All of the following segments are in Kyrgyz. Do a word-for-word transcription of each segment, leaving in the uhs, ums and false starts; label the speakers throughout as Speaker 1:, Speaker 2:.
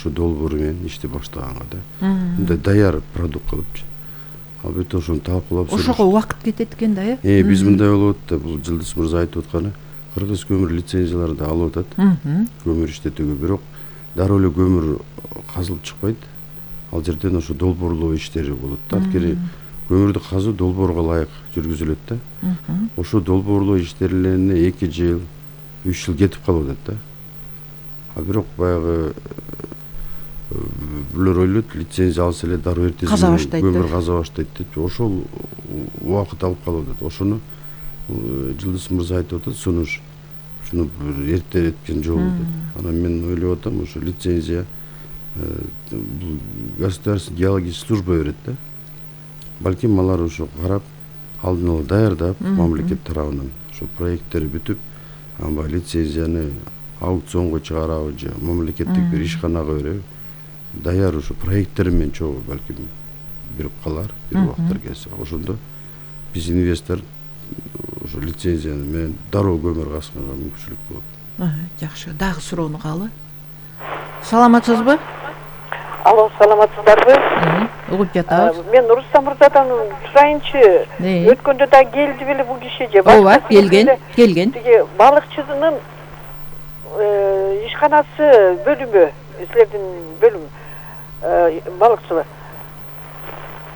Speaker 1: ушу долбоору менен ишти баштаганга да. Мындай даяр продукт кылыпчы. Ал бет ошону талкуулап
Speaker 2: ошого убакыт кетет экен да, э?
Speaker 1: Э, биз мындай болуп атат да, бул Жылдыз мырза айтып атканы, кыргыз көмүр лицензияларды алып атат. Көмүр иштетүүгө, бирок дароо эле көмүр казылып чыкпайт. Ал жерден ошо долбоорлоо иштери болот да. Анткени көмүрдү казуу долбоорго ылайык жүргүзүлөт да. Ошо долбоорлоо иштерине эки жыл, үч жыл кетип калып атат да. А бирок баягы бүлөр ойлойт, лицензия алса эле дароо эртеси көмүр каза баштайт деп. Ошол убакыт алып калып атат. Ошону Жылдыз мырза айтып атат, сунуш ушуну бир эрте эткен жол деп. Анан мен ойлоп атам, ошо лицензия бул государственный геологический служба берет да. Балким алар ошо карап, алдын ала даярдап, мамлекет тарабынан ошо проекттери бүтүп, анан лицензияны аукционго чыгарабы же мамлекеттик бир ишканага береби, даяр ошо проекттери менен чогуу балким берип калар бир убакыттар келсе. Ошондо биз инвестор ошо лицензия менен дароо көмүр казганга мүмкүнчүлүк болот.
Speaker 2: Жакшы. Дагы суроону калы. Саламатсызбы?
Speaker 3: Алло, саламатсыздарбы?
Speaker 2: Угуп жатабыз.
Speaker 3: Мен Рустам мырзадан сурайынчы. Өткөндө да келди беле бул киши же?
Speaker 2: Ооба, келген, келген.
Speaker 3: Тиги балыкчынын ишканасы бөлүмү, силердин бөлүм балыкчылар.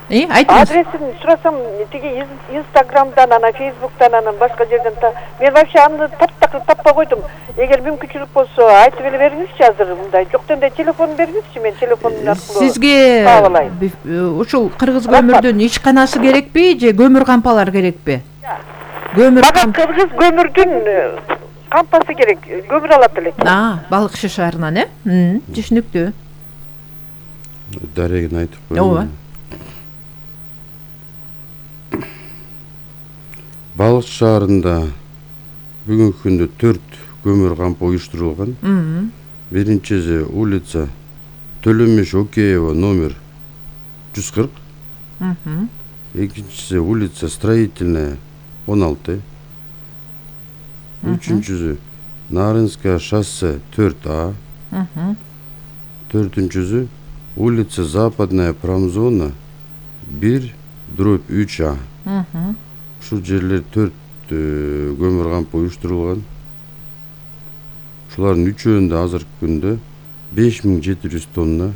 Speaker 2: Э, айтыңыз.
Speaker 3: Адресин сурасам, тиги Инстаграмдан, анан Фейсбуктан, анан башка жерден та мен вообще аны таптак таппай койдум. Эгер мүмкүнчүлүк болсо, айтып эле бериңизчи азыр мындай. Жок дегенде телефон бериңизчи, мен телефонун аркылуу
Speaker 2: сизге ушул Кыргыз көмүрдүн ишканасы керекпи же көмүр кампалар керекпи? Көмүр
Speaker 3: Мага Кыргыз көмүрдүн кампасы керек, көмүр алат элек.
Speaker 2: А, балыкчы шаарынан, э? Түшүнүктүү.
Speaker 1: Дарегин айтып коеюн.
Speaker 2: Ооба.
Speaker 1: Балык шаарында бүгүнкү күндө төрт көмүр кампы уюштурулган. Биринчиси улица Төлөмеш Океева номер жүз кырк. Экинчиси улица Строительная он алты. Үчүнчүсү Нарынская шоссе төрт А. Төртүнчүсү улица Западная промзона бир дробь үч А. Ушул жерлер төрт көмүр кампы уюштурулган. Ушулардын үчөөндө азыркы күндө беш миң жети жүз тонна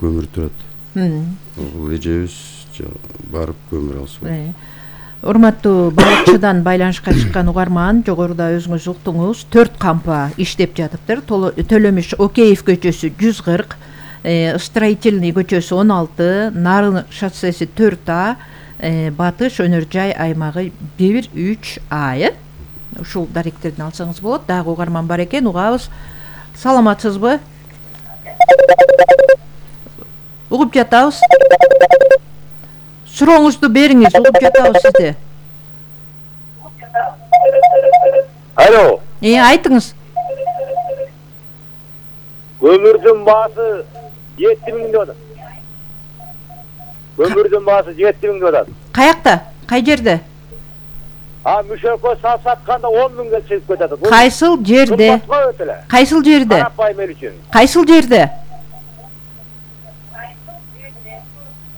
Speaker 1: көмүр турат. Бул эжебиз барып көмүр алса болот.
Speaker 2: Урматтуу балыкчыдан байланышка чыккан угарман, жогоруда өзүңүз уктуңуз, төрт кампа иштеп жатыптыр. Төлөмеш Океев көчөсү жүз кырк, Строительный көчөсү он алты, Нарын шоссеси төрт А, Батыш өнөр жай аймагы бир үч А. Ушул даректердин алсаңыз болот. Дагы угарман бар экен, угабыз. Саламатсызбы? Угуп жатабыз. Сурооңузду бериңиз, угуп жатабыз сизди.
Speaker 4: Алло.
Speaker 2: Э, айтыңыз.
Speaker 4: Көмүрдүн баасы жети миң деп атат. Көмүрдүн баасы жети миң деп атат.
Speaker 2: Каякта? Кай жерде?
Speaker 4: А мүшөккө сап сатканда он миңге чыгып кетет.
Speaker 2: Кайсыл жерде? Кайсыл жерде?
Speaker 4: Карапайым эл үчүн.
Speaker 2: Кайсыл жерде?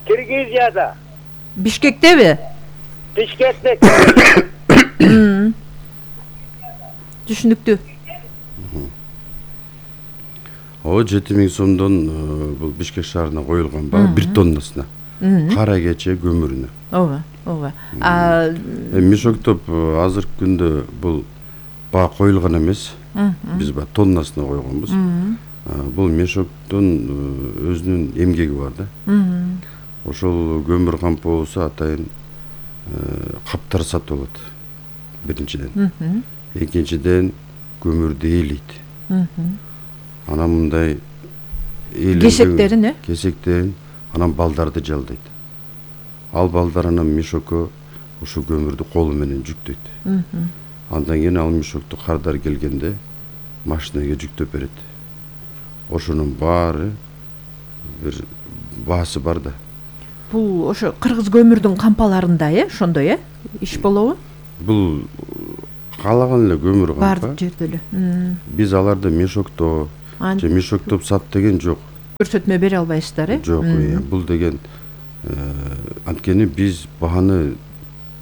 Speaker 4: Киргизияда.
Speaker 2: Бишкектеби?
Speaker 4: Бишкекте.
Speaker 2: Түшүнүктүү.
Speaker 1: О жети миң сомдон бул Бишкек шаарына коюлган баа бир тоннасына. Кара кече көмүрүнө.
Speaker 2: Ооба, ооба. А
Speaker 1: мешоктоп азыркы күндө бул баа коюлган эмес. Биз баа тоннасына койгонбуз. Бул мешоктун өзүнүн эмгеги бар да. Ошол көмүр кампы болсо атайын каптар сатып алат. Биринчиден. Экинчиден көмүрдү ээлейт. Анан мындай
Speaker 2: кесектерин, э?
Speaker 1: Кесектерин, анан балдарды жалдайт. Ал балдар анан мешокко ошо көмүрдү колу менен жүктөйт. Андан кийин ал мешокту кардар келгенде машинага жүктөп берет. Ошонун баары бир баасы бар да.
Speaker 2: Бул ошо кыргыз көмүрдүн кампаларында, э, ошондой, э, иш болобу?
Speaker 1: Бул каалаган эле көмүр кампа.
Speaker 2: Бардык жерде эле.
Speaker 1: Биз аларды мешокто же мешоктоп сат деген жок.
Speaker 2: көрсөтмө бере албайсыздар э?
Speaker 1: Жок, бул деген анткени биз бааны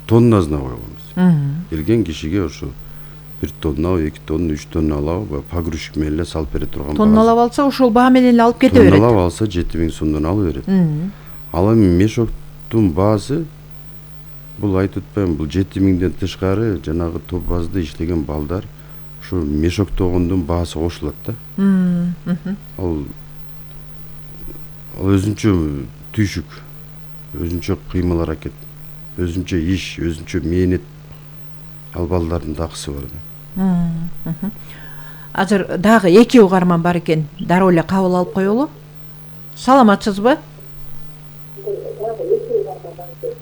Speaker 1: тоннасына койгонбуз. Келген кишиге ошо бир тонна, эки тонна, үч тонна алабы, погрузчик менен эле салып бере турган.
Speaker 2: Тонналап алса, ошол баа менен эле алып кете берет.
Speaker 1: Тонналап алса жети миң сомдон алып берет. Ал эми мешоктун баасы бул айтып атпайм, бул жети миңден тышкары жанагы топ базда иштеген балдар ушу мешоктогондун баасы кошулат да. Ал ал өзүнчө түйшүк, өзүнчө кыймыл аракет, өзүнчө иш, өзүнчө мээнет. Ал балдардын такысы бар да.
Speaker 2: Азыр дагы эки угарман бар экен, дароо эле кабыл алып коелу. Саламатсызбы?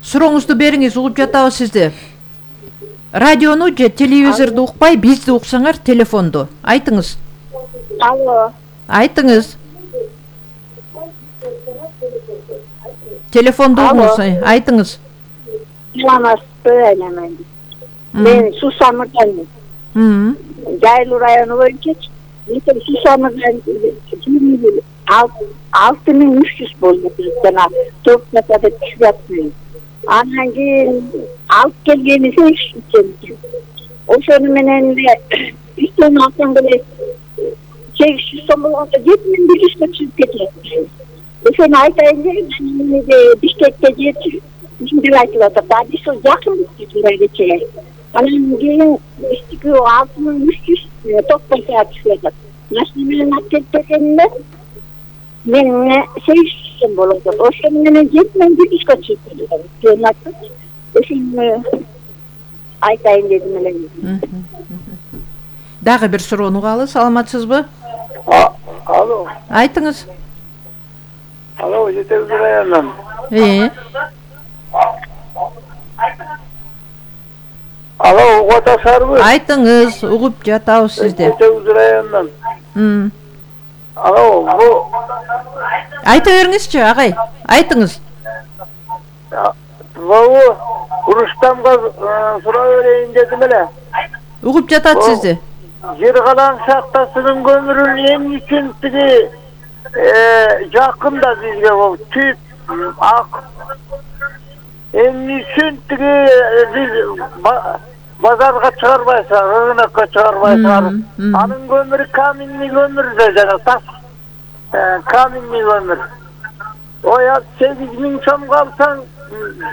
Speaker 2: Сурооңузду бериңиз, угуп жатабыз сизди. Радиону же телевизорду укпай, бизди уксаңар телефонду. Айтыңыз.
Speaker 5: Алло.
Speaker 2: Айтыңыз. Телефонду угуңуз, айтыңыз.
Speaker 5: Саламатсызбы, айнаман. Мен Сусамырдан. Жайлуу району боюнча мен Сусамырдан алты миң үч жүз болду жана топ жасады түшүп. Андан кийин алып келгени сегиз жүз. Ошону менен эле үч тонна алсам деле сегиз жүз сом болгондо жети миң бир жүзгө түшүп кетет. Ошону айтайын деп Бишкекке жети миң деп айтылып атат. А биз жакын кеткенге анан кийин биздики алты миң үч жүз топ жасап түшүп атат. Машина менен алып келип бергенде мен сегиз жүз сом болот. Ошону менен жети миң бир жүзгө түшүп кетет. Ошону айтайын дедим эле.
Speaker 2: Дагы бир суроону угалы, саламатсызбы?
Speaker 4: Алло.
Speaker 2: Айтыңыз.
Speaker 4: Алло, жетекчи районунан.
Speaker 2: Э.
Speaker 4: Алло, угуп атасызбы?
Speaker 2: Айтыңыз, угуп жатабыз сизди.
Speaker 4: Жетекчи районунан. Алло, бу
Speaker 2: айта бериңизчи, агай. Айтыңыз.
Speaker 4: Бу Рустамга суроо берейин дедим эле.
Speaker 2: Угуп жатат сизди.
Speaker 4: Жер калаң шахтасынын көмүрүн эмне үчүн тиги жакында бизге бул түп ак эмне үчүн тиги биз базарга чыгарбайсыңар, рынокко чыгарбайсыңар? Анын көмүрү каменный көмүр да, жана таш каменный көмүр. Ой, ал сегиз миң сомго алсаң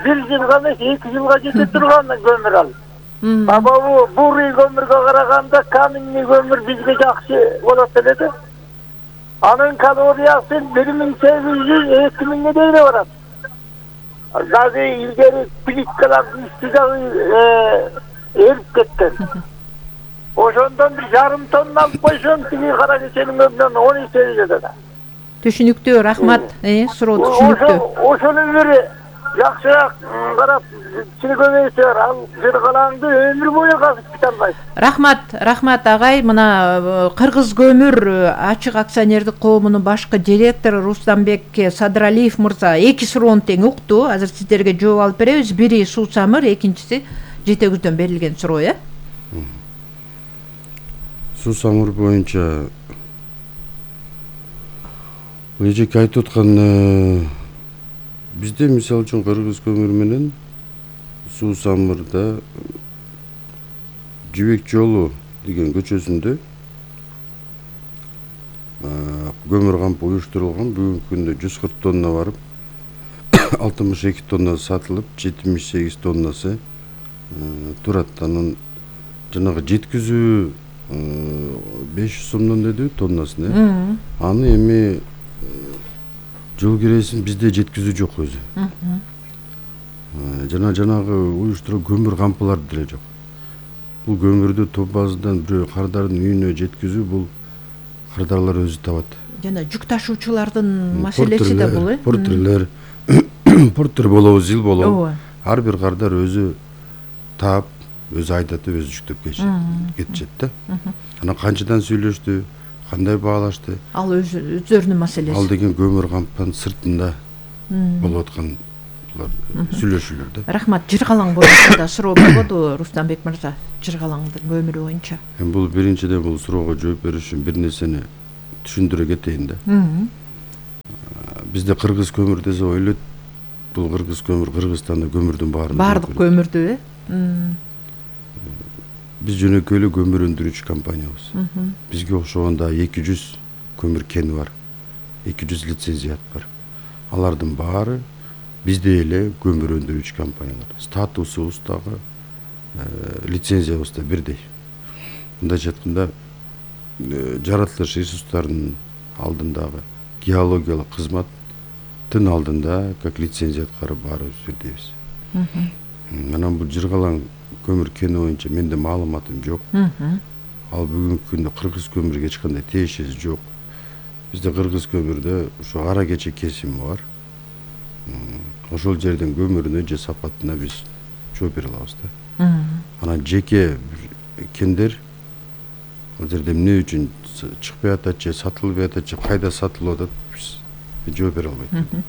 Speaker 4: бир жылга эмес, эки жылга жете турган көмүр ал. А бу бурый көмүргө караганда каменный көмүр бизге жакшы болот эле да. Анын калориясы бир миң сегиз жүз, эки миңге дейин барат. Дагы илгери плиткалардын үстү дагы эрип кеткен. Ошондон бир жарым тонна алып койсоң, тиги кара кеченин көмүрүнөн он эсе жетет.
Speaker 2: Түшүнүктүү, рахмат. Э, суроо түшүнүктүү.
Speaker 4: Ошону бир жакшыраак карап чыгып көбөйсөөр, ал жер калаңды өмүр бою казып кете албайсың.
Speaker 2: Рахмат, рахмат агай. Мына Кыргыз көмүр ачык акционердик коомунун башкы директору Рустамбек Садыралиев мырза эки суроону тең укту. Азыр сиздерге жооп алып беребиз. Бири Суусамыр, экинчиси жетегүздөн берилген суроо, э?
Speaker 1: Суусамыр боюнча эжеке айтып аткан бизде мисалы үчүн Кыргыз көмүрү менен Суусамырда Жибек жолу деген көчөсүндө көмүр кампы уюштурулган. Бүгүнкү күндө жүз кырк тонна барып, алтымыш эки тонна сатылып, жетимиш сегиз тоннасы турат. Анын жанагы жеткизүү беш жүз сомдон дедиби тоннасын, э? Аны эми жол киресин бизде жеткизүү жок өзү. Жана жанагы уюштурулган көмүр кампылар деле жок. Бул көмүрдү топ базадан бирөө кардардын үйүнө жеткизүү бул кардарлар өзү табат.
Speaker 2: Жана жүк ташуучулардын маселеси да бул, э?
Speaker 1: Портерлер, портер болобу, зил болобу. Ар бир кардар өзү таап, өзү айдатып, өзү жүктөп кетишет да. Анан канчадан сүйлөштү, кандай баалашты?
Speaker 2: Ал өздөрүнүн маселеси.
Speaker 1: Ал деген көмүр кампанын сыртында болуп аткан сүйлөшүүлөр да.
Speaker 2: Рахмат. Жыргалаң боюнча да суроо болбоду, Рустамбек мырза? Жыргалаңдын көмүрү боюнча.
Speaker 1: Эми бул биринчиден бул суроого жооп бериш үчүн бир нерсени түшүндүрө кетейин да. бизде кыргыз көмүр десе ойлойт бул кыргыз көмүр, Кыргызстанда көмүрдүн баарын
Speaker 2: баардык көмүрдү э
Speaker 1: биз жөнөкөй эле көмүр өндүрүүчү компаниябыз. Бизге окшогон да эки жүз көмүр кени бар, эки жүз лицензият бар. Алардын баары бизде эле көмүр өндүрүүчү компаниялар. Статусубуз дагы лицензиябыз да бирдей. Мындайча айтканда жаратылыш ресурстарынын алдындагы геологиялык кызматтын алдында как лицензияткары баарыбыз бирдейбиз. Анан бул жыргалаң көмүр кени боюнча менде маалыматым жок. Ал бүгүнкү күндө кыргыз көмүргө эч кандай тиешеси жок. Бизде кыргыз көмүрдө ушу ара кече кесими бар. Ошол жерден көмүрүнө же сапатына биз жооп бере алабыз да. Анан жеке кендер ал жерде эмне үчүн чыкпай атат же сатылбай атат же кайда сатылып атат биз жооп бере албайт.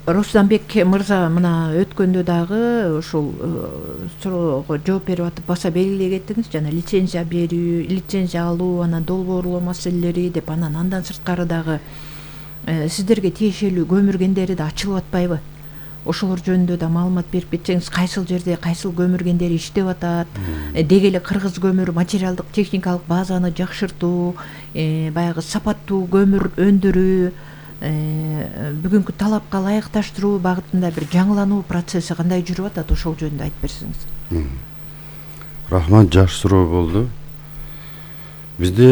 Speaker 2: Русланбек мырза мына өткөндө дагы ушул суроого жооп берип атып баса белгилей кеттиңиз, жана лицензия берүү, лицензия алуу, анан долбоорлоо маселелери деп, анан андан сырткары дагы сиздерге тиешелүү көмүр кендери да ачылып атпайбы? Ошолор жөнүндө да маалымат берип кетсеңиз, кайсыл жерде кайсыл көмүр кендери иштеп атат, деги эле кыргыз көмүр материалдык техникалык базаны жакшыртуу, баягы сапаттуу көмүр өндүрүү, бүгүнкү талапка ылайыкташтыруу багытында бир жаңылануу процесси кандай жүрүп атат, ошол жөнүндө айтып берсеңиз.
Speaker 1: Рахмат, жакшы суроо болду. Бизде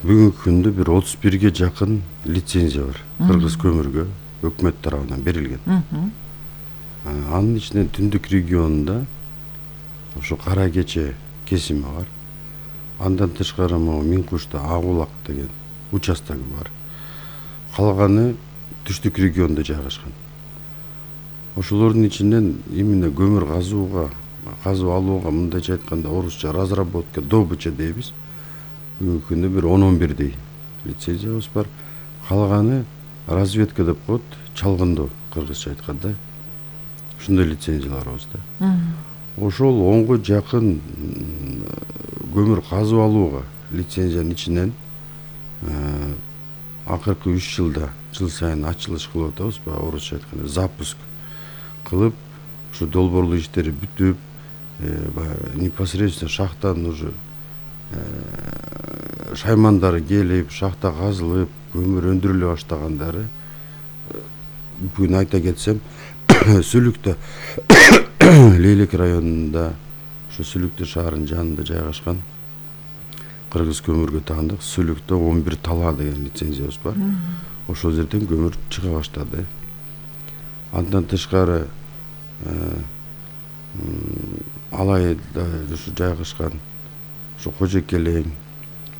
Speaker 1: бүгүнкү күндө бир отуз бирге жакын лицензия бар кыргыз көмүргө өкмөт тарабынан берилген. Анын ичинен түндүк регионунда ошо кара кече кесими бар. Андан тышкары могу Миңкушта Агулак деген участогу бар. Калганы түштүк региондо жайгашкан. Ошолордун ичинен именно көмүр казууга, казып алууга, мындайча айтканда орусча разработка, добыча дейбиз. Бүгүнкү күндө бир он он бирдей лицензиябыз бар. Калганы разведка деп коет, чалгындоо кыргызча айтканда. Ушундай лицензияларыбыз да. Ошол онго жакын көмүр казып алууга лицензиянын ичинен акыркы үч жылда жыл сайын ачылыш кылып атабыз, баягы орусча айтканда запуск кылып, ушу долбоорлоо иштери бүтүп, непосредственно шахтанын уже шаймандары келип, шахта казылып, көмүр өндүрүлө баштагандары, бүгүн айта кетсем, Сүлүктө Лейлек районунда, ушу Сүлүктө шаарынын жанында жайгашкан кыргыз көмүргө таандык Сүлүктө он бир тала деген лицензиябыз бар. Ошол жерден көмүр чыга баштады. Андан тышкары Алайда ушу жайгашкан ушу Кожокелең,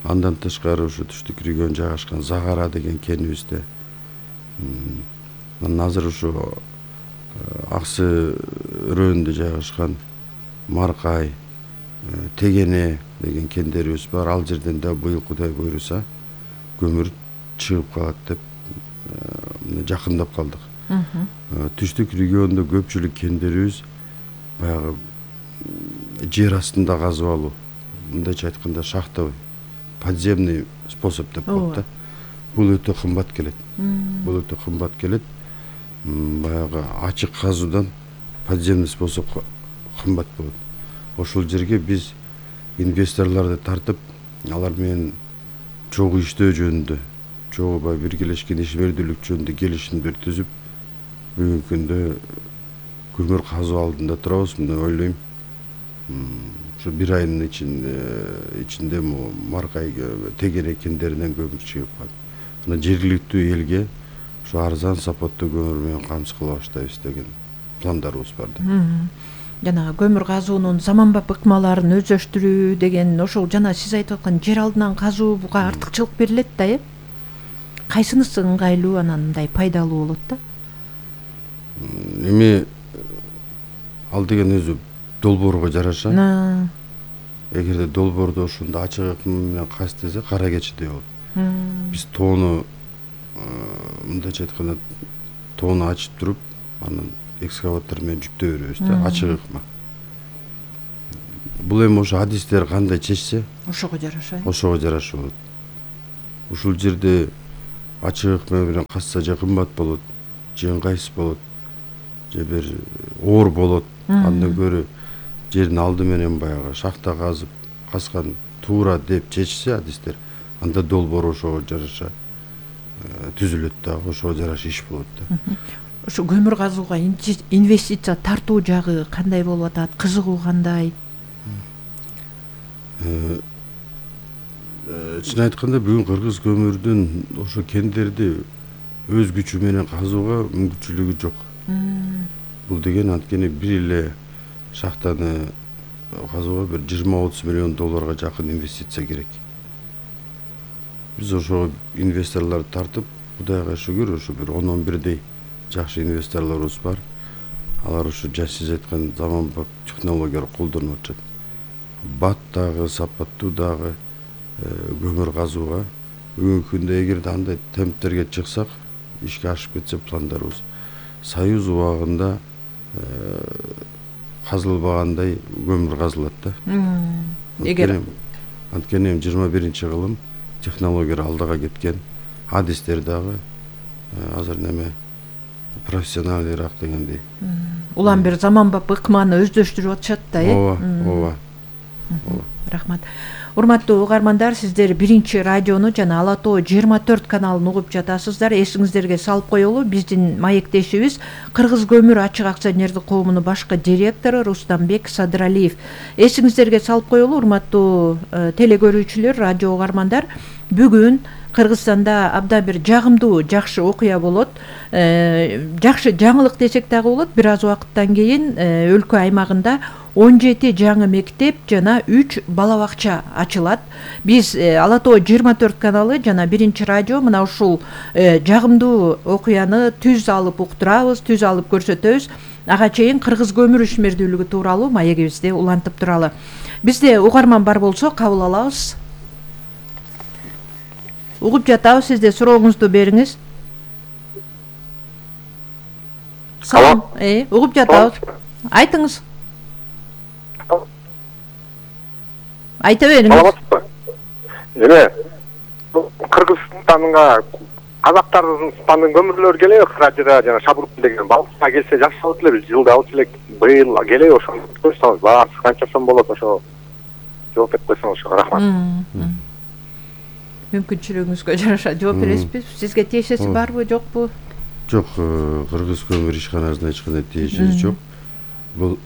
Speaker 1: андан тышкары ушу түштүк регион жайгашкан Загара деген кенибизде. Анан азыр ушу Аксы районунда жайгашкан Маркай, Тегене деген кендерибиз бар. Ал жерден да быйыл Кудай буйруса көмүр чыгып калат деп жакындап калдык. Түштүк региондо көпчүлүк кендерибиз баягы жер астында казып алуу, мындайча айтканда шахтовый, подземный способ деп коет да. Бул өтө кымбат келет. Бул өтө кымбат келет. Баягы ачык казуудан подземный способ кымбат болот. Ошол жерге биз инвесторлорду тартып, алар менен чогуу иштөө жөнүндө, чогуу баягы биргелешкен ишмердүүлүк жөнүндө келишимдер түзүп, бүгүнкү күндө көмүр казуу алдында турабыз. Мына ойлойм, ушу бир айдын ичинде ичинде Маркай Тегене кендеринен көмүр чыгып калат. Мына жергиликтүү элге ушу арзан сапаттуу көмүр менен камсыз кыла баштайбыз деген пландарыбыз бар да.
Speaker 2: Жана көмүр казуунун заманбап ыкмаларын өздөштүрүү деген, ошол жана сиз айтып аткан жер алдынан казуу буга артыкчылык берилет да, э? Кайсынысы ыңгайлуу, анан мындай пайдалуу болот да?
Speaker 1: Эми ал деген өзү долбоорго жараша. Эгерде долбоордо ушундай ачык ыкма менен каз десе, кара кечидей болот. Биз тоону мындайча айтканда тоону ачып туруп, анан экскаватор менен жүктөй беребиз да, ачык ыкма. Бул эми ошо адистер кандай чечсе,
Speaker 2: ошого жараша.
Speaker 1: Ошого жараша болот. Ушул жерде ачык менен касса же кымбат болот, же ыңгайсыз болот, же бир оор болот. Андан көрө жердин алды менен баягы шахта казып, каскан туура деп чечсе адистер, анда долбоор ошого жараша түзүлөт дагы, ошого жараша иш болот да.
Speaker 2: Ошо көмүр казууга инвестиция тартуу жагы кандай болуп атат? Кызыгуу кандай?
Speaker 1: Чын айтканда бүгүн кыргыз көмүрдүн ошо кендерди өз күчү менен казууга мүмкүнчүлүгү жок. Бул деген анткени бир эле шахтаны казууга бир жыйырма отуз миллион долларга жакын инвестиция керек. Биз ошо инвесторлорду тартып, Кудайга шүгүр, ошо бир он он бирдей жакшы инвесторлорубуз бар. Алар ошо сиз айткан заманбап технологиялар колдонуп атышат. Бат дагы, сапаттуу дагы көмүр казууга бүгүнкү күндө эгерде андай темптерге чыксак, ишке ашып кетсе пландарыбыз, Союз убагында казылбагандай көмүр казылат да. Эгер анткени жыйырма биринчи кылым технологиялар алдыга кеткен, адистер дагы азыр неме профессионалдыраак дегендей.
Speaker 2: Улам бир заманбап ыкманы өздөштүрүп атышат да, э?
Speaker 1: Ооба, ооба.
Speaker 2: Рахмат. Урматтуу угармандар, сиздер биринчи радиону жана Ала Тоо жыйырма төрт каналын угуп жатасыздар. Эсиңиздерге салып коелу, биздин маектешибиз Кыргыз көмүр ачык акционердик коомунун башкы директору Рустамбек Садыралиев. Эсиңиздерге салып коелу, урматтуу телекөрүүчүлөр, радио угармандар, бүгүн Кыргызстанда абдан бир жагымдуу, жакшы окуя болот. Жакшы жаңылык десек дагы болот. Бир аз убакыттан кийин өлкө аймагында он жети жаңы мектеп жана үч бала бакча ачылат. Биз Ала Тоо жыйырма төрт каналы жана биринчи радио мына ушул жагымдуу окуяны түз алып уктурабыз, түз алып көрсөтөбүз. Ага чейин кыргыз көмүр ишмердүүлүгү тууралуу маегибизди улантып туралы. Бизде угарман бар болсо кабыл алабыз. Угуп жатабыз, сизде сурооңузду бериңиз. Салам. Э, угуп жатабыз. Айтыңыз. Айта бериңиз.
Speaker 6: Эме, Кыргызстанга Казактардын көмүрлөр келеби, Кыражыра жана Шабурк деген балыкка келсе жакшы болот эле, жылда алып элек, быйыл келеби, ошону көрсөңүз, баасы канча сом болот, ошо жооп берип койсоңуз, ошо рахмат.
Speaker 2: Мүмкүнчүлүгүңүзгө жараша жооп бересизби? Сизге тиешеси барбы, жокпу?
Speaker 1: Жок, Кыргыз көмүр ишканасына эч кандай тиешеси жок. Бул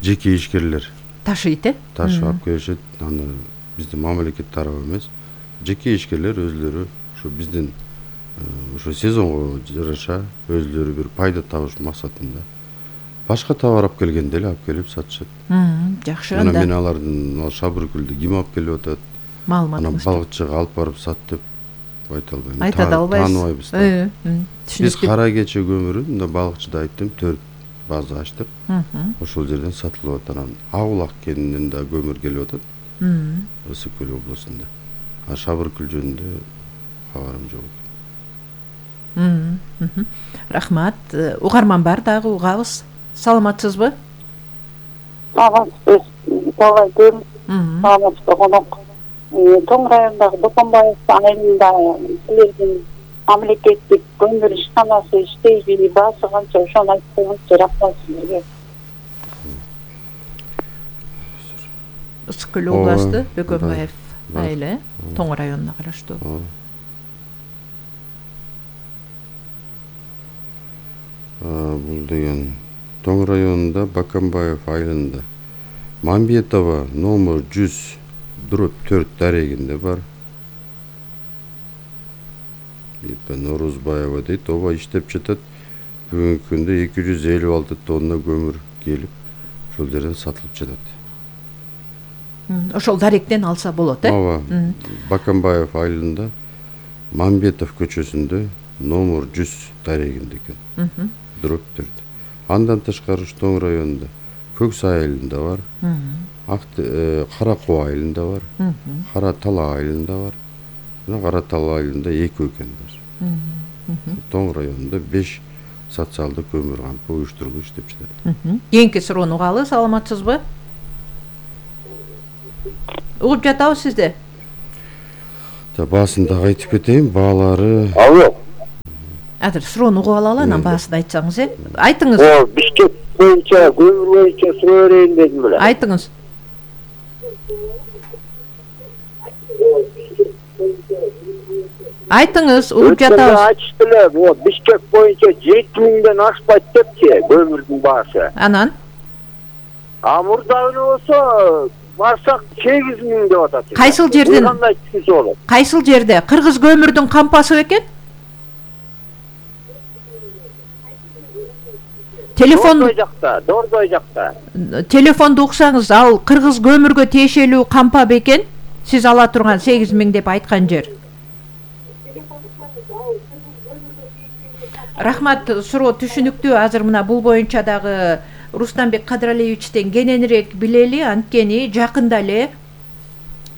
Speaker 1: жеке ишкерлер
Speaker 2: ташыйт, э?
Speaker 1: Ташып алып келишет. Аны биздин мамлекет тарабы эмес, жеке ишкерлер өзлөрү ошо биздин ошо сезонго жараша өзлөрү бир пайда табыш максатында башка товар алып келгенде эле алып келип сатышат.
Speaker 2: Жакшы.
Speaker 1: Ана мен алардын Шабыркүлдү ким алып келип атат?
Speaker 2: Маалыматыңыз.
Speaker 1: Ана балыкчыга алып барып сат деп айта албайм.
Speaker 2: Айта да албайсыз.
Speaker 1: Тааныбайбыз да. Биз кара кече көмүрүн мында балыкчыда айттым, төрт база ачтык. Ошол жерден сатылып атат. Анан Ак кенинен да көмүр келип атат. Ысык көл облусунда. А Шабыркүл жөнүндө кабарым жок.
Speaker 2: Рахмат. Угарман бар дагы угабыз. Саламатсызбы?
Speaker 5: Саламатсыз. Саламатсыз. Саламатсыз конок. Тоң районундагы Доконбаев айылында силердин мамлекеттик көмүр ишканасы иштейби, баасы канча, ошону айтып койгончу. Рахмат силерге.
Speaker 2: Ысык көл областы Доконбаев айылы Тоң районуна караштуу.
Speaker 1: Бул деген Тоң районунда Баканбаев айылында Мамбетова номер жүз дробь төрт дарегинде бар. Норузбаева дейт, оба иштеп жатат. Бүгүнкү күндө эки жүз элүү алты тонна көмүр келип, ошол жерден сатылып жатат.
Speaker 2: Ошол даректен алса болот, э?
Speaker 1: Ооба. Баканбаев айылында Мамбетов көчөсүндө номер жүз дарегинде экен. Дробь төрт. Андан тышкары Тоң районунда Көксай айылында бар. Кара Коо айылында бар. Кара Тала айылында бар. Жана Кара Тала айылында эки экен бар. Тоң районунда беш социалдык көмүр кампы уюштурулуп иштеп жатат.
Speaker 2: Кийинки суроону угалы, саламатсызбы? Угуп жатабыз сизде.
Speaker 1: баасын дагы айтып кетейин, баалары.
Speaker 4: Алло.
Speaker 2: Азыр суроону угуп алалы, анан баасын айтсаңыз, э? Айтыңыз.
Speaker 4: О, Бишкек боюнча, көмүр боюнча суроо берейин дедим эле.
Speaker 2: Айтыңыз. Айтыңыз, угуп жатабыз.
Speaker 4: Айтышты эле, вот Бишкек боюнча жети миңден ашпайт депчи көмүрдүн баасы.
Speaker 2: Анан
Speaker 4: А мурдагы болсо барсак сегиз миң деп атат.
Speaker 2: Кайсыл жерден?
Speaker 4: Кандай түшүнсө болот?
Speaker 2: Кайсыл жерде? Кыргыз көмүрдүн кампасы бекен? Телефон
Speaker 4: Дордой жакта, Дордой жакта.
Speaker 2: Телефонду уксаңыз, ал кыргыз көмүргө тиешелүү кампа бекен? Сиз ала турган сегиз миң деп айткан жер. Рахмат, суроо түшүнүктүү. Азыр мына бул боюнча дагы Рустамбек Кадыралиевичтен кененирээк билели, анткени жакында эле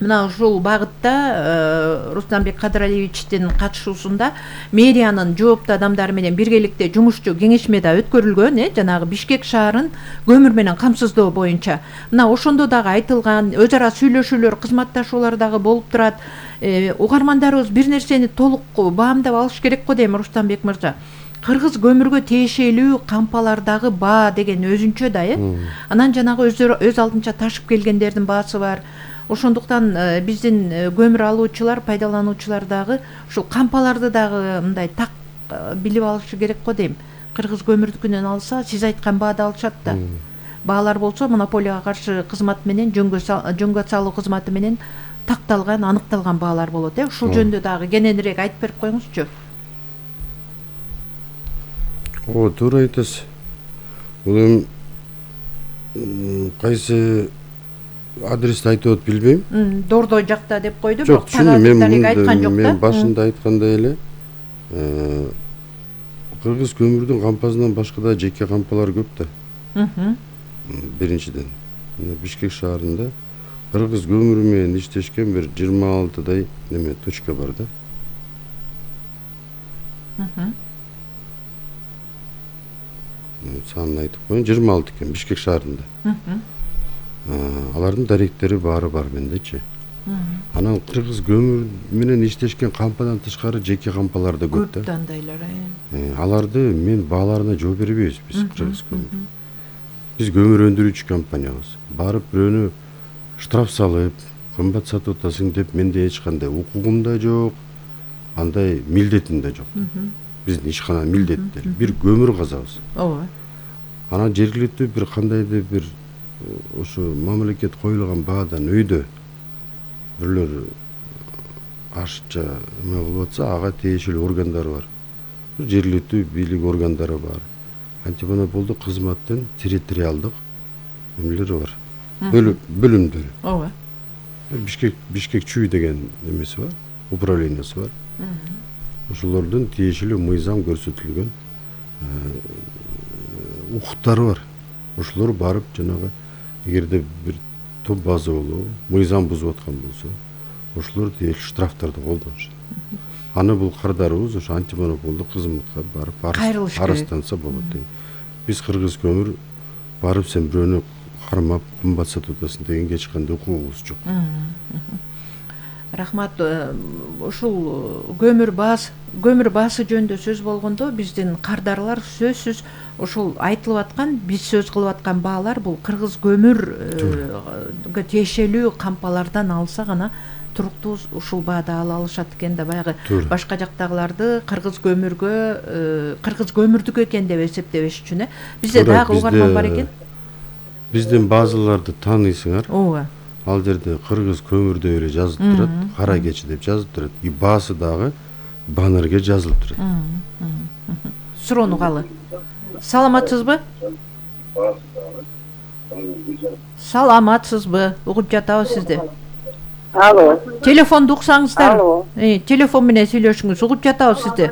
Speaker 2: мына ушул багытта Рустамбек Кадыралиевичтин катышуусунда мэриянын жооптуу адамдары менен биргеликте жумушчу кеңешме да өткөрүлгөн, э, жанагы Бишкек шаарын көмүр менен камсыздоо боюнча. Мына ошондо дагы айтылган, өз ара сүйлөшүүлөр, кызматташуулар дагы болуп турат. Угармандарыбыз бир нерсени толук баамдап алыш керек го дейм, Рустамбек мырза. Кыргыз көмүргө тиешелүү кампалардагы баа деген өзүнчө да, э. Анан жанагы өздөрү өз алдынча ташып келгендердин баасы бар. Ошондуктан биздин көмүр алуучулар, пайдалануучулар дагы ушул кампаларды дагы мындай так билип алышы керек го дейм. Кыргыз көмүрдүкүнөн алса, сиз айткан баада алышат да. Баалар болсо монополияга каршы кызмат менен, жөнгө салуу кызматы менен такталган, аныкталган баалар болот, э. Ушул жөнүндө дагы кененирээк айтып берип коюңузчу.
Speaker 1: О, туура айтасыз. Бул кайсы адрести айтып атып билбейм.
Speaker 2: Дордой жакта деп койду,
Speaker 1: бирок
Speaker 2: тагаатындагы айткан жок да.
Speaker 1: Мен башында айткандай эле, кыргыз көмүрдүн кампасынан башка да жеке кампалар көп да. Биринчиден, Бишкек шаарында кыргыз көмүрү менен иштешкен бир жыйырма алтыдай неме точка бар да. Санын айтып коеюн, жыйырма алты экен Бишкек шаарында. Алардын даректери баары бар мендечи. Анан кыргыз көмүр менен иштешкен кампадан тышкары жеке кампалар да көп да.
Speaker 2: Көп андайлар,
Speaker 1: э. Аларды мен бааларына жооп бербейбиз биз, кыргыз көмүр. Биз көмүр өндүрүүчү компаниябыз. Барып бирөөнү штраф салып, кымбат сатып атасың деп менде эч кандай укугум да жок, андай милдетим да жок. Биздин ишкана милдеттери бир көмүр казабыз.
Speaker 2: Ооба.
Speaker 1: Анан жергиликтүү бир кандайдыр бир ошо мамлекет коюлган баадан өйдө бирлөр ашыкча эме кылып атса, ага тиешелүү органдар бар. Жергиликтүү бийлик органдары бар. Антимонополдук кызматтын территориалдык эмелери бар. Бөлүмдөрү.
Speaker 2: Ооба.
Speaker 1: Бишкек Бишкек чүй деген эмеси бар, управлениясы бар. Ошолордун тиешелүү мыйзам көрсөтүлгөн укуктары бар. Ошолор барып жанагы эгерде бир топ база болобу, мыйзам бузуп аткан болсо, ошолор тиешелүү штрафтарды колдонушат. Аны бул кардарыбыз ошо антимонополдук кызматка барып арызданса болот деген. Биз кыргыз көмүр барып сен бирөөнү кармап кымбат сатып атасың дегенге эч кандай укугубуз жок.
Speaker 2: Рахмат. Ушул көмүр баасы, көмүр баасы жөнүндө сөз болгондо биздин кардарлар сөзсүз ушул айтылып аткан, биз сөз кылып аткан баалар бул кыргыз көмүргө тиешелүү кампалардан алса гана туруктуу ушул баада ала алышат экен да. Баягы башка жактагыларды кыргыз көмүргө, кыргыз көмүрдүк экен деп эсептебеш үчүн, э. Бизде дагы угарман бар экен.
Speaker 1: Биздин базаларды тааныйсыңар.
Speaker 2: Ооба.
Speaker 1: Ал жерде кыргыз көмүр деп эле жазылып турат, кара кечи деп жазылып турат. И баасы дагы баннерге жазылып турат.
Speaker 2: Суроону калы. Саламатсызбы? Саламатсызбы? Угуп жатабыз сизди.
Speaker 5: Алло.
Speaker 2: Телефонду уксаңыздар.
Speaker 5: Алло.
Speaker 2: Э, телефон менен сүйлөшүңүз. Угуп жатабыз сизди.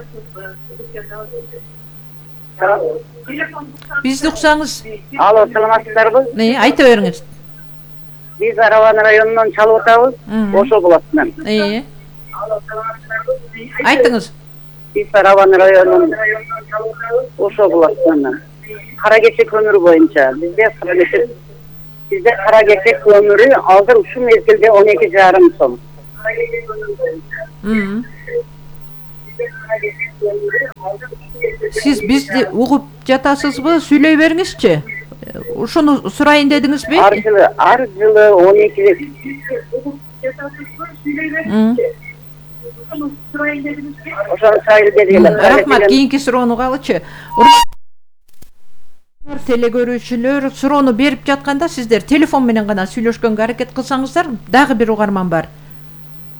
Speaker 2: Бизди уксаңыз.
Speaker 5: Алло, саламатсыздарбы?
Speaker 2: Э, айта бериңиз.
Speaker 5: Биз Араван районунан чалып атабыз, Ошо булатынан.
Speaker 2: Э. Айтыңыз.
Speaker 5: Биз Араван районунан Ошо булатынан. Кара кече көмүрү боюнча бизде кара кече бизде кара кече көмүрү азыр ушул мезгилде он эки жарым сом.
Speaker 2: Сиз бизди угуп жатасызбы? Сүйлөй бериңизчи. Ушуну сурайын дедиңизби?
Speaker 5: Ар жылы, ар жылы он эки рет. Ошону сайыл бергиле.
Speaker 2: Рахмат, кийинки суроону угалы-чы. Теле көрүүчүлөр суроону берип жатканда сиздер телефон менен гана сүйлөшкөнгө аракет кылсаңыздар, дагы бир угарман бар.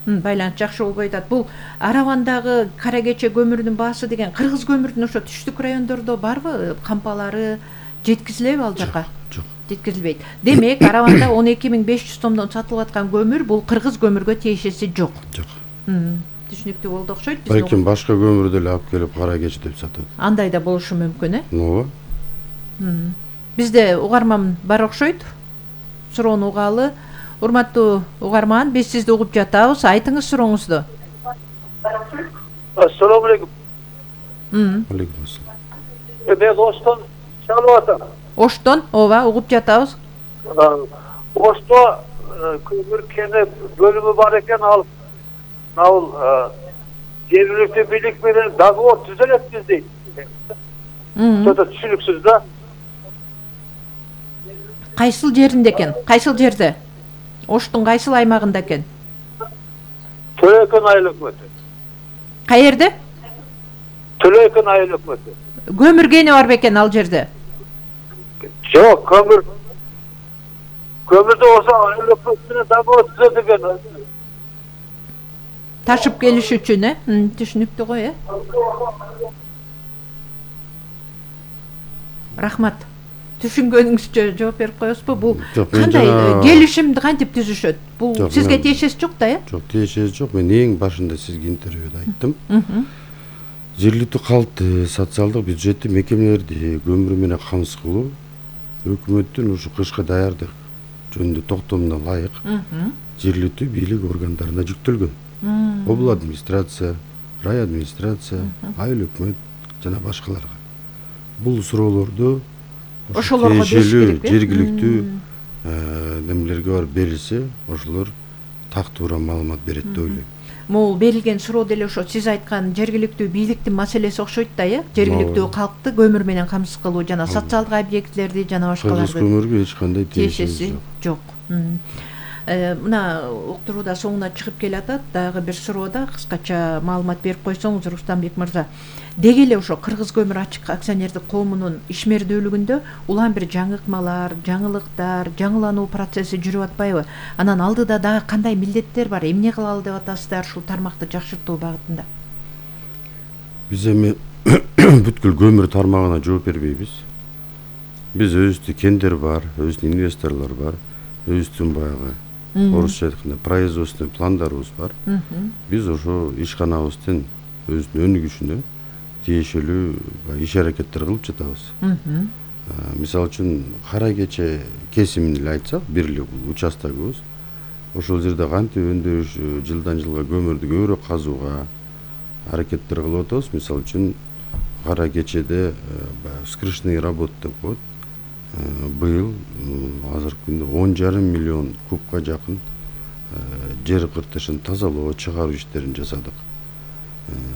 Speaker 2: Байланыш жакшы болбой атат. Бул Аравандагы Кара Кече көмүрүнүн баасы деген кыргыз көмүрүнүн ошо түштүк райондордо барбы? Кампалары жеткизилеби ал жака?
Speaker 1: Жок.
Speaker 2: Жеткизилбейт. Демек, Араванда он эки миң беш жүз сомдон сатылып аткан көмүр бул кыргыз көмүргө тиешеси жок.
Speaker 1: Жок.
Speaker 2: Түшүнүктүү болду окшойт.
Speaker 1: Балким башка көмүрдү эле алып келип Кара Кече деп сатат.
Speaker 2: Андай да болушу мүмкүн, э?
Speaker 1: Ооба.
Speaker 2: Бизде угарман бар окшойт. Суроону угалы. Урматтуу угарман, биз сизди угуп жатабыз. Айтыңыз сурооңузду.
Speaker 4: Ассаламу алейкум.
Speaker 1: Алейкум ассалам.
Speaker 4: Мен Оштон чалып атам.
Speaker 2: Оштон, ооба, угуп жатабыз.
Speaker 4: Ошто көмүр кене бөлүмү бар экен, ал ал жергиликтүү бийлик менен договор түзөлөтпүз дейт. Сөтө түшүнүксүз да.
Speaker 2: Кайсыл жеринде экен? Кайсыл жерде? Оштун кайсыл аймагында экен?
Speaker 4: Төлөкөн айыл өкмөтү.
Speaker 2: Каерде?
Speaker 4: Төлөкөн айыл өкмөтү.
Speaker 2: Көмүр кени бар бекен ал жерде?
Speaker 4: Жок, көмүр көмүрдү ошо айыл өкмөтү менен договор түзөтүлгөн.
Speaker 2: Ташып келиш үчүн, э? Түшүнүктүү го, э? Рахмат. Түшүнгөнүңүзчө жооп берип коесузбу? Бул кандай келишимди кантип түзүшөт? Бул сизге тиешеси жок да, э?
Speaker 1: Жок, тиешеси жок. Мен эң башында сизге интервьюда айттым. Жергиликтүү калкты, социалдык бюджеттик мекемелерди көмүр менен камсыз кылуу өкмөттүн ушу кышка даярдык жөнүндө токтомуна ылайык жергиликтүү бийлик органдарына жүктөлгөн. Обл администрация, рай администрация, айыл өкмөт жана башкаларга. Бул суроолорду
Speaker 2: ошолорго
Speaker 1: тиешелүү жергиликтүү немелерге барып берилсе, ошолор так туура маалымат берет деп ойлойм.
Speaker 2: Могул берилген суроо деле ошо сиз айткан жергиликтүү бийликтин маселеси окшойт да, э? Жергиликтүү калкты көмүр менен камсыз кылуу жана социалдык объектилерди жана башкаларды.
Speaker 1: Кыргыз көмүргө эч кандай тиешеси
Speaker 2: жок. Мына уктурууда соңуна чыгып келатат. Дагы бир суроода кыскача маалымат берип койсоңуз, Рустамбек мырза. Деги эле ошо Кыргыз көмүр ачык акционердик коомунун ишмердүүлүгүндө улам бир жаңыкмалар, жаңылыктар, жаңылануу процесси жүрүп атпайбы? Анан алдыда дагы кандай милдеттер бар? Эмне кылалы деп атасыздар ушул тармакты жакшыртуу багытында?
Speaker 1: Биз эми бүткүл көмүр тармагына жооп бербейбиз. Биз өзүбүздүн кендер бар, өзүбүздүн инвесторлор бар, өзүбүздүн баягы орусча айтканда производственный пландарыбыз бар. Биз ошо ишканабыздын өзүнүн өнүгүшүнө тиешелүү иш аракеттер кылып жатабыз. Мисалы үчүн Кара Кече кесимин эле айтсак, бир эле бул участогубуз. Ошол жерде кантип өндүрүш жылдан жылга көмүрдү көбүрөөк казууга аракеттер кылып атабыз. Мисалы үчүн Кара Кечеде вскрышные работы деп коет. Быйыл азыркы күндө он жарым миллион кубка жакын жер кыртышын тазалоо, чыгаруу иштерин жасадык.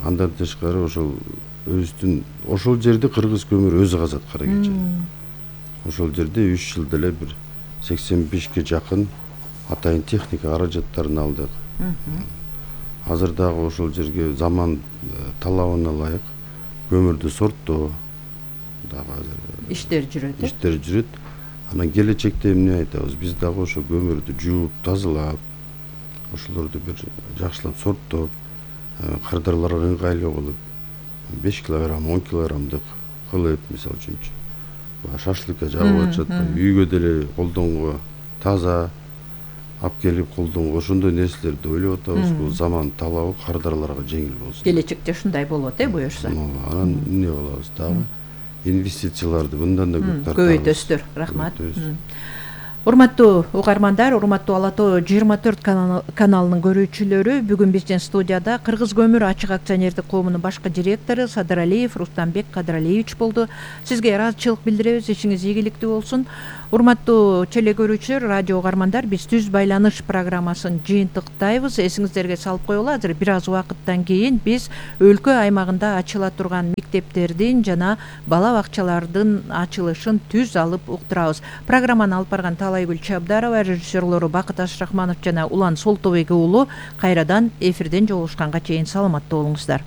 Speaker 1: Андан тышкары ошол өзүбүздүн ошол жерди кыргыз көмүр өзү казат Кара Кече. Ошол жерде үч жылда эле бир сексен бешке жакын атайын техника каражаттарын алдык. Азыр дагы ошол жерге заман талабына ылайык көмүрдү сорттоо дагы азыр
Speaker 2: иштер жүрөт.
Speaker 1: Иштер жүрөт. Анан келечекте эмне айтабыз? Биз дагы ошо көмүрдү жууп, тазалап, ошолорду бир жакшылап сорттоп, кардарларга ыңгайлуу кылып, беш килограмм, он килограммдык кылып, мисалы үчүн шашлыкка жагып атышат, үйгө деле колдонгого таза алып келип колдонгого ошондой нерселерди ойлоп атабыз. Бул заман талабы кардарларга жеңил болсун.
Speaker 2: Келечекте ушундай болот, э, буюрса.
Speaker 1: Анан эмне кылабыз дагы? Инвестицияларды мындан да көп тартабыз.
Speaker 2: Көбөйтөсүздөр. Рахмат. Урматтуу угармандар, урматтуу Ала Тоо жыйырма төрт каналынын көрүүчүлөрү, бүгүн биздин студияда Кыргыз көмүр ачык акционердик коомунун башкы директору Садыралиев Рустамбек Кадыралиевич болду. Сизге ыраазычылык билдиребиз, ишиңиз ийгиликтүү болсун. Урматтуу теле көрүүчүлөр, радио угармандар, биз Түз байланыш программасын жыйынтыктайбыз. Эсиңиздерге салып коелу, азыр бир аз убакыттан кийин биз өлкө аймагында ачыла турган мектептердин жана бала бакчалардын ачылышын түз алып уктурабыз. Программаны алып барган Таалайгүл Чабдарова, режиссерлору Бакыт Ашрахманов жана Улан Солтобек уулу кайрадан эфирден жолугушканга чейин саламатта болуңуздар.